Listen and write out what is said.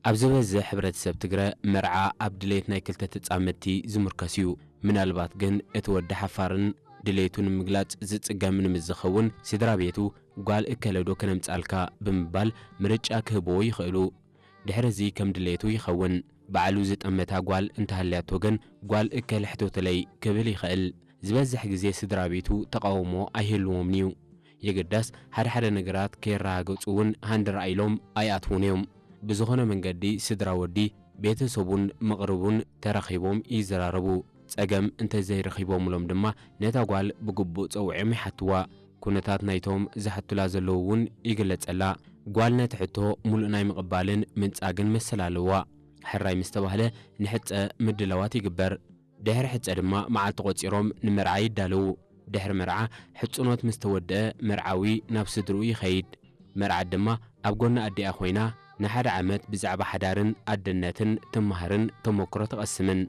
ኣብ ዝበዝሕ ሕብረተሰብ ትግረ መርዓ ኣብ ድሌት ናይ ክልተ ተጻመድቲ ዝምርከስ እዩ። ምናልባት ግን እቲ ወዲ ሓፋርን ድሌቱ ንምግላጽ ዝጽገምን ምስ ዝኸውን ስድራ ቤቱ ጓል እከለዶ ከነምጻልካ ብምባል ምርጫ ክህብዎ ይኽእሉ። ድሕሪ እዚ ከም ድሌቱ ይኸውን። ባዕሉ ዝጠመታ ጓል እንተሃልያቶ ግን ጓል እከለ ሕቶተለይ ክብል ይኽእል። ዝበዝሕ ግዜ ስድራ ቤቱ ተቓውሞ ኣይህልዎምን እዩ። የግዳስ ሓደ ሓደ ነገራት ከየረጋገጹ እውን ሃንደራ ኢሎም ኣይኣትዉን እዮም። ብዝኾነ መንገዲ ስድራ ወዲ ቤተሰቡን መቕርቡን ተራኺቦም ይዘራረቡ። ጸገም እንተዘይረኺቦምሎም ድማ ነታ ጓል ብግቡእ ጸዊዖም ይሓትዋ። ኩነታት ናይቶም ዝሓቱላ ዘለዉ እውን ይግለጸላ። ጓል ነቲ ሕቶ ሙሉእ ናይ ምቕባልን ምንጻግን መሰል ኣለዋ። ሕራይ ምስ ተባህለ ንሕጸ ምድላዋት ይግበር። ድሕሪ ሕጸ ድማ መዓልቲ ቆጺሮም ንመርዓ ይዳለዉ። ድሕሪ መርዓ ሕጽኖት ምስ ተወድአ መርዓዊ ናብ ስድርኡ ይኸይድ። መርዓት ድማ ኣብ ጎኒ ኣዲኣ ኮይና ንሓደ ዓመት ብዛዕባ ሓዳርን ኣደነትን ትመሃርን ተመክሮ ትቐስምን።